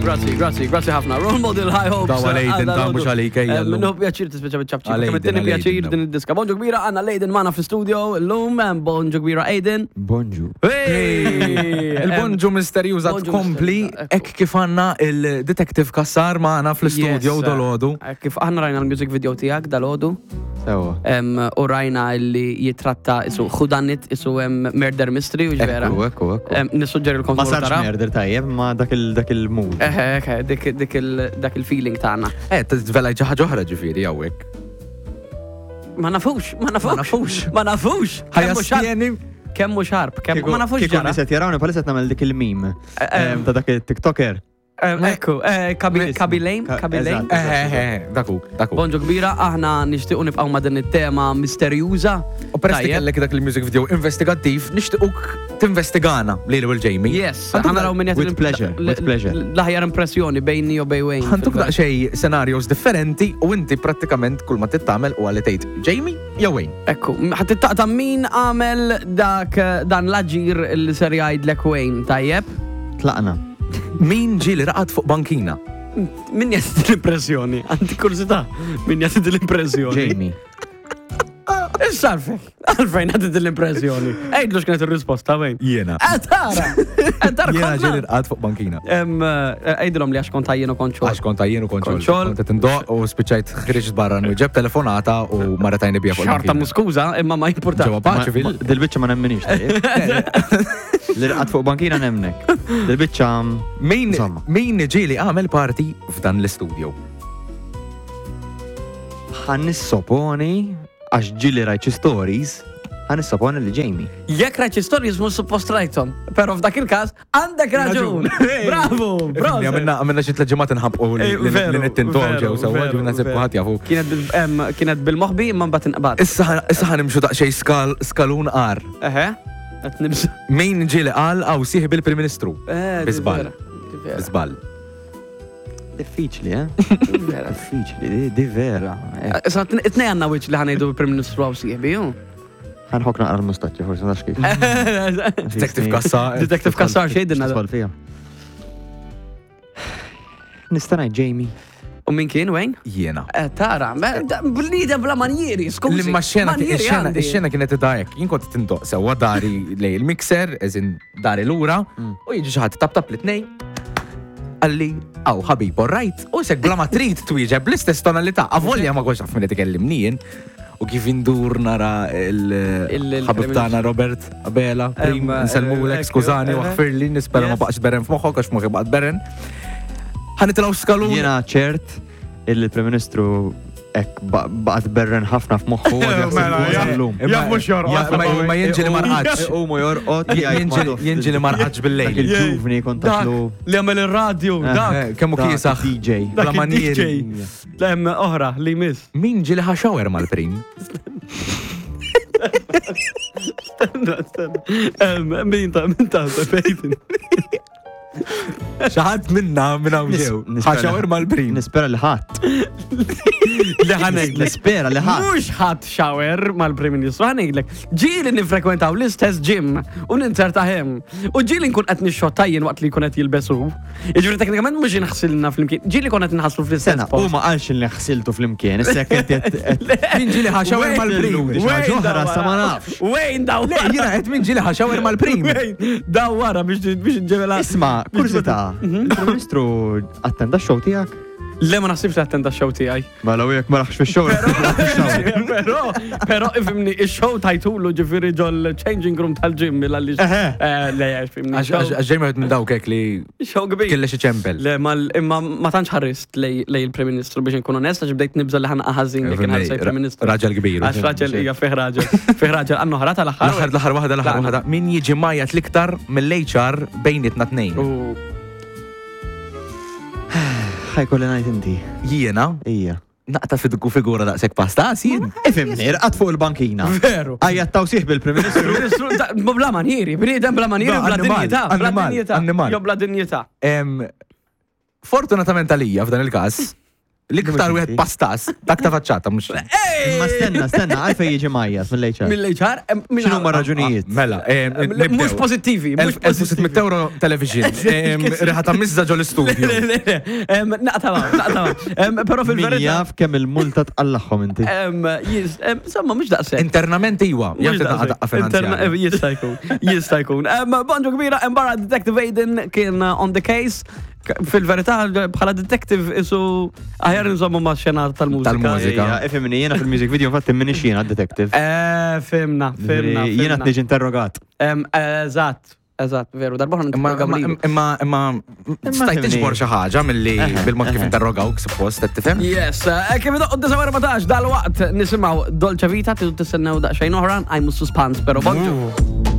Grazzi, grazzi, grazzi ħafna. Role model high hopes. Daw għal Aiden, ta' mhux għalik, ejja llum. Minnu pjaċir tispiċa biċ-ċapċip. Għal Kemm Aiden, it-tieni għal pjaċir Aiden, din id-diska. Bonġu kbira għandna l-Aiden magħna fl-studio llum, bonġu kbira Aiden. Bonġu. Hey! Il-bonġu misterjuża Bonġu tkompli misterjuża, ekku. hekk kif għandna il-Detective Kassar magħna fl-studio Yes. dolodu. Eh, Kif aħna rajna l-music video tiegħek dalodu Sewa. em, u rajna li jitratta isu whodunit isu em, murder mystery u ġvera. Ekku, ekku, ekku. Em, Nissuġġerilkom Ma tmorru sarx taraw. murder tajjeb, ma dak il- dak il-mood. Eħe, eħe, dik- dik il- dak il-feeling tagħna. Eh, t-zvela ħaġa oħra ġifieri hawnhekk. Ma nafux, ma nafux. Ma nafux. Ma nafux. Ħajja Kemm hu xarb, stieni. kemm hu xarb, kemm ma nafux Kieku ġara. niset jarawni palissa nagħmel dik il-meme Eh, em, ta' dak il-TikToker. Eh, Ekku, eh, Kabi Ismu. Kabi Lame, Ka- Kabi Lame. eżatt. Eh, eh, eh, daku, daku. Bonġu kbira, aħna nixtiequ nibqgħu ma' din it-tema misterjuża. U peress li Tajjeb. kellek dak il-music video investigattiv, nixtiequk tinvestigana lili u l-Jamie. Yes, Għanduk ħa naraw min With pleasure, with pleasure. L-aħjar impressjoni bejni u bej Wayne. Ħantuk daqsxejn scenarios differenti u inti prattikament kull ma tittamel u għalli tgħid Jamie jew Wayne. Ekku, ħat taqta min għamel dak dan l-aġir li ser jgħidlek Wayne, tajjeb? Tlaqna. Min ġieli raqad fuq bankina? Min jagħti l-impressjoni? Għandi kurzita, min jagħti l-impressjoni? Jamie. Issa għalfejn, għalfejn għati l-impressjoni. Ejdlu x'kienet ir-risposta Wayne. Jiena. Eh, tara! Eh, tara Jiena ġieli konna. raqad fuq bankina. Em, eh, Ejdilhom li għax kont għajjen u kont xogħol. Għax kont għajjien u kont xogħol. Kont xogħol. Kont qed indoq u spiċċajt ħriġt barra nwieġeb telefonata u marretajni bija fuq Xorta il-bankina. muskuża, imma ma jimpurtax. Ġewwa paċi fil. Ma- Dil-biċċa ma nemminix tajjeb. L-irqad fuq bankina nemnek. Dil-biċċa Min Insomma. min ġieli għamel party f'dan l-istudio? ħan nissoponi għax ġili rajt xi stories, ħan nissoponi li Jamie. Jekk rajt xi stories mhux suppost rajthom, però f'dak il-każ għandek raġun. Bravo, bravo. Għamilna għamilna xi tliet ġimgħat inħabqu li Eh, veru, li nittintu veru, ġew sewwa veru, ġew naħseb veru. kulħadd jafu. Kienet bil- em, kienet bil-moħbi imma mbagħad inqbad. Issa ħa- issa ħanimxu daqsxejn skal skalun qar. Eħe, qed nibsa. Min ġieli qal għaw sieħ bil-Prim Ministru. Eh, di Biżball. vera, di vera, Biżball. Diffiċli, eh? di vera. Diffiċli, di- di vera. Eh, Issa it-nej għandna wiċċ li ħanejdu bil-Prim Ministru għaw sieħbi, ju. Ħanħok naqra l-mustaċċi, forsi nafx kif. Detective Kassar. Detective Kassar xejdinna. Tidħol fija. Nista' ngħid Jamie. U min kien, Wayne? Jiena. Eh, Tara, bnida bla manjieri, skużi. L-imma xena, Manjieri xena, għandi. xena kienet id-dajek. Jien kont tindoq sewa dari lej il-mixer, eżin dari lura, u jiġi xi ħadd tap tap li tnej. Għalli, aw ħabib, all right. U sek bla ma trid twieġeb bl-istess tonalità. Avolja ma kontx naf min qed ikellimni jien. U kif indur nara il-ħabib tagħna Robert Abela, prim, Em, nsellmulek, eh, skużani, eh, waħfirli, nispera ma Yes. baqax beren f'moħħok għax moħħi baqgħet beren. Ħanitilgħu skalun. Jiena ċert il-Prim Ministru ek baqgħet berren ħafna f'moħħu għad jaħseb Mela, fuq ja. sal-lum. Jaf mhux jorqod. Ja, ma- Ma jinġi li marqax. U mu jorqod. jgħid Jinġi li marqax Dak bil-lejl. il-ġuvni kont Dak taħlu. li għamel il-radju, dak. Eh, Kemmu dak kiesaħ. DJ. Bla Dak manieri. il-DJ. Lem oħra li miss. Min ġili ħaxawer mal-prim? Stenna, stenna. Em, Min ta' min ta' Peyton. Xaħat minna minn hawn Nis- ġew. nispera- Ħaxawer mal-prim. Nispera li ħadd. Li ħanejlek. Nispera li ħadd. Mux ħadd shower mal-Prim Ministru, ħanejlek. Ġieli nifrekwentaw l-istess gym u ninzerta hemm. U ġieli nkun qed nixxotta jien waqt li jkun qed jilbesu. Jiġifieri teknikament mhux inħsilna flimkien. Ġieli kont qed inħasslu fl-istess Sena, u post. ma qalx li ħsiltu flimkien, issa jekk inti qed- qed- Min ġili ħaxawer mal-prim? Xi ħaġa oħra sa ma nafx. Wejn daw Le, jiena qed min ġili ħaxawer mal-prim. Wejn daw wara biex biex ġemela. Isma, kurzita, il-Prim Ministru attenda x-show tiegħek? Le ma naħsibx li attenda x-show tiegħi. Mela u jekk ma raħx fix-show. Però, però ifimni, il-show tajtulu ġifiri ġol changing room tal-gym mill-għalli. Eħe. Eh, Le, ifimni. Għax għax ġej minn dawk hekk li Show kbir. kelle xi ċempel. Le, mal, imma ma tantx ħarrist lej lej il-Prim Ministru biex nkun onest, għax bdejt nibża li ħanqa ħażin li kien ħarsej Prim Ministru. Raġel kbir. Għax raġel hija fih raġel. Fih raġel għannu ħra tal-aħħar. L-aħħar l-aħħar waħda l-aħħar waħda. Min jiġi majat l-iktar mill-HR bejnietna tnejn. U Ħajkolli ngħid inti. Jiena Ija. naqta fidgu figura daqshekk pasta jien. Ifimni, rqad fuq il-bankina. Veru. Għajja tawsieħ bil-Prim Ministru. Prim Ministru, da- bla manjieri, bniedem bla manjieri, No, bla annimal, dinjità, bla annimal, dinjità. annimal. Jo bla dinjità. Em, Fortunatament għalija f'dan il-każ, L-iktar wieħed pastas, dak ta' faċċata mhux. Imma stenna, stenna, għalfejn jiġi majjat mill-HR. Mill-HR? X'inhuma raġunijiet? Mela, Mhux pożittivi, mhux 1600 euro television. Riħa ta' mizza ġol studio. Naqta' naqta' Però fil-verità. Min jaf kemm il-multa tqallagħhom inti. Insomma, mhux daqshekk. Internament iwa, jaf daqqa daqqa finanzjarja. Jista' jkun, jista' jkun. Bonġu kbira, barra Detective Aiden kien on the case. Fil-verità, bħala detective isu aħjar nżommu ma' xena tal-mużika. Tal-mużika. Ifimni, jiena fil-music video infatti minix jiena detective. Eh, fimna, fimna. Jiena t-niġi interrogat. Eżatt, eżatt, veru. Darba ħana Imma, imma, imma, stajt tiġbor xi ħaġa milli bil-mod kif interrogawk, suppost, qed tifhem? Yes, eh, kif idoqqu 9:14 dal-waqt nisimgħu Dolce Vita, tidu tistennew daqsxejn oħra, għajmu suspans, pero bonġu.